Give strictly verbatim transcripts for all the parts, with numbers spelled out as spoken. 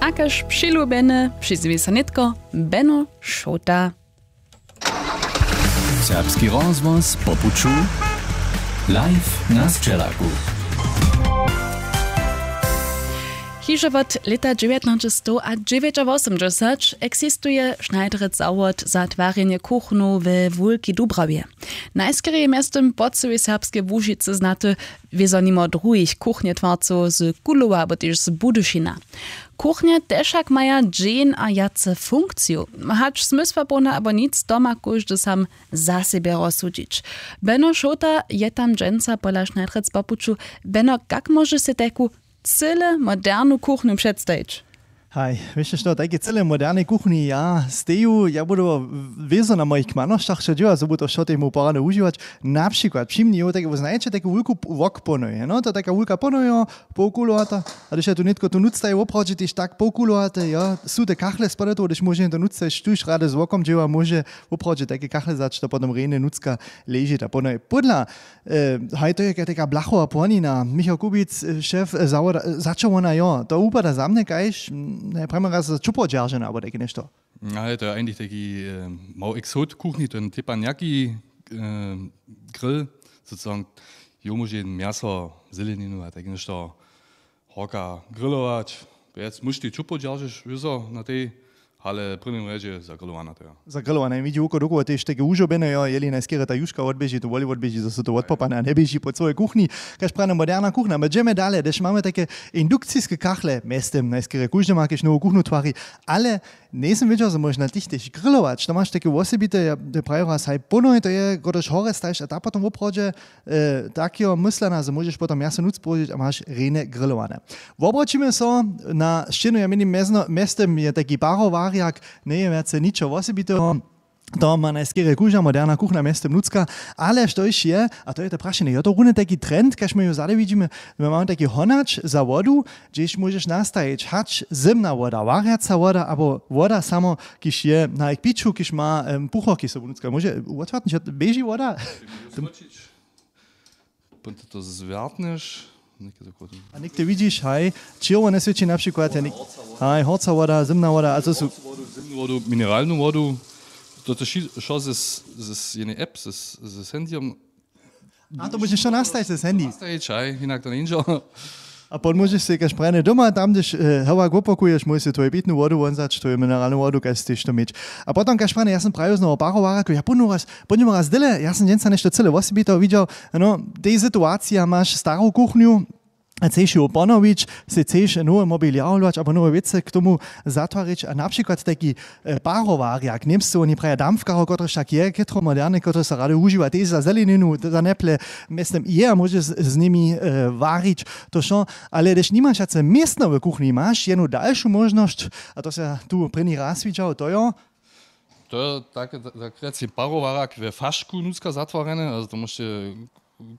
A kaž přilubjene přizwi so nětko Beno Šołta. Serbski rozhłos po puću. Live na sćelaku. Hižo wot lěta dźewjatnaćestowdźewjećawosomdźesać eksistuje Schneiderec zawod za twarjenje kuchnow we Wulkej Dubrawje. Najskerje je mjeztym po cyłej Serbskej Łužicy znaty, wězo nimo druhich kuchnjetwarcow z Kulowa abo tež z Budyšina. Kuchnje te wšak maja dźeń a wjace funkciju. Hač zmysłapołne abo nic, to ma kóždy sam za sebje rozsudźić. Beno Šołta je tam dźensa pola Schneiderec po puću. Beno, kak móžeš sej tajku cyle modernu kuchnju předstajić? Haj, wěš što, tajke cyle modernej kuchnji ja steju, ja budu wězo na mojich kmanošćach, što dźěła, zo bu to što temu porady užiwać. Na přikład při mni jo, tak znajeće taku wulku p-, wok ponoju, no, to taka wulka ponojo, połkulowata. A hdyž ja tu nětko tu nutř staji, woprawdźe tež tak połkulowate, jo, su te kachle spadają, hdyž móže to nutř stajić, tuž rady z wokom dźěła, móže woprawdźe tajke kachle zać, to potom rjenje nutřka leži ta ponoje. Podla, e, haj, to je taka blachowa płonina, Michał Kubic, e, šef, e, zawoda, e, začo wona jo, to wupada za mnje kaž, mm, ne, prjamo raz čupo dźeržena abo tajke něšto. Ale to je eigentlich taki, e, mały exot kuchni, to je tepanjaki, e, grill, sozusagen, jo móže mjaso, zeleninu a tak něšto horka grillować. Wjec móžeš tež čupo dźeržeć wězo na tej, ale w prěnim rjedźe zagrillowana to jo. Zagrillowane, widźi wuko dokoło tež take wužobjene jo, jeli najskerje ta juška wotběži, to woli wotběži, zo su to wotpopane a njeběži po cyłej kuchni. Kaž prane moderna kuchna, my dźemy dale, hdyž mamy take indukciske kachle, mjeztym najskerje kóždy ma kaž nowu kuchnu twari, ale Njejsym wědźał, zo móžeš na tych tež grillować. To maš take wosebite, ja, te prajiła saj pónoj, to je, kotraž horje stajiš a ta potom woprawdźe, e, tak jo, myslana, zo móžeš potom mjaso nutř połožić a maš rjenje grillowane. Wobroćimy so na sćěnu, ja měnim mjezno, mjeztym je taki parowarjak, njeje wjace ničo wosebiteho. To ma najskerje kóžda moderna kuchna mjeztym nutřka, ale štož je, a to je to prašenje, jo, to runje tajki trend, kaž my jo zady widźimy, my mamy tajki honać za wodu, hdźež móžeš nastajić, hač zymna woda, warjaca woda abo woda samo, kiž je na k piću, kiž ma, em, puchorki sobu nutřka. Móže wotwartnić, běži woda? Potom to zwjartneš, něke tako. A někde widźiš, haj, čěrwone swěći na přikład, ja něk-, haj, horca woda, zymna woda, a to su Horcu wodu, zymnu wodu, mineralnu wodu. To, to ši-, šo z, z, z jednej app, z, z handyjom. A to móžeš wšo nastajić z handy. Nastajić, haj, hinak to njeńdźe. A potom móžeš sej kaž prajne doma, tam, hdyž, e, hewak wopakuješ, móžeš sej twoju pitnu wodu wonzać, twoju mineralnu wodu, kaž chceš to měć. A potom kaž prajne, ja sym prajił znowu parowarjak, ja pónu raz, pódnjemu raz dyle, ja sym dźensa něšto cyle wosebiteho widźał, no, tej situacija, maš staru kuchnju, a chceš ju ponowić, sej chceš nowy mobiliar hlodować abo nowe wěcy k tomu zatwarić a na přikład tajki, e, parowarjak, Němscy woni praja dampfkaro, kotryž tak je, chětro moderne, kotryž so rady wužiwa tež za zeleninu, za neple, mjeztym je a móže z, z nimi, e, warić, to wšo, ale hdyž nimaš wjace městno w kuchnji, maš jednu dalšu móžnosć, a to se tu prěni raz widźał, to jo, To je tak, tak rjec, parowarjak we fašku nutřka zatwarjene, ale to móžeš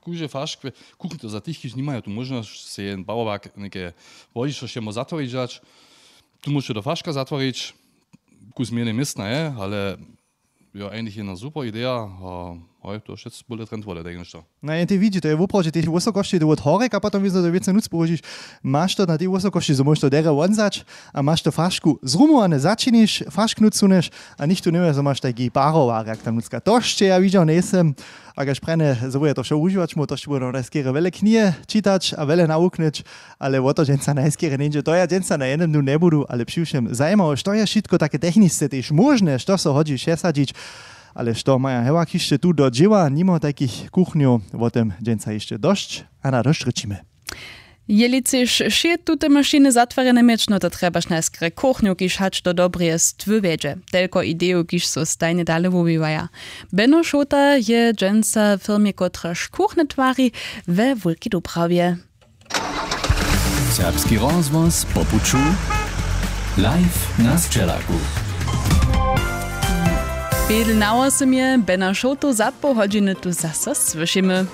kóždy fašk we kuchni, to za tych, kiž nimajo tu móžnosć, sej jeden parowarjak něke wody, štož je móhł zatwarić dać. Tu móžeš do faška zatwarić, kus mjene městna je, ale jo, eigentlich jedna super ideja, a hoj, to wšetc bóle trend wody, tak něšto. No, jen tej widźi, to je woprawdźe tež wysokosći, to wot horjek a potom wězo to wěcy nutř połožiš. Maš to na tej wysokosći, zo móžeš to derje wonzać a maš to fašku zrumowane, začiniš, fašk nutř suneš a nichtó njewě, zo maš tajki parowarjak tam nutřka. To sće ja widźał njejsym. A kaž prajne, zo bude to wšo wužiwać móhł, to sće bude najskerje wjele knihe čitać a wjele nawuknyć, ale wo to dźensa najskerje njeńdźe. To ja dźensa na jednym dnu njebudu, ale přiwšěm zajimało, što je wšitko take technisce tež móžne, što so hodźi přesadźić. Ale što maja hewak hišće tu do dźěła, nimo tajkich kuchnjow, wo tym dźensa hišće dosć a na dosć rěčimy. Jeli chceš wšě tute mašiny zatwarjene měć, no to trjebaš najskerje kuchnju, kiž hač do dobreje stwy wjedźe. Telko idejow, kiž so stajnje dale wuwiwaja. Beno Šołta je dźensa w firmje, kotraž kuchnje twari, we Wulkej Dubrawje. Serbski rozhłos po puću. Live na sćelaku. Pědl na wosym je, Bena Šołtu za poł hodźiny tu zaso słyšimy.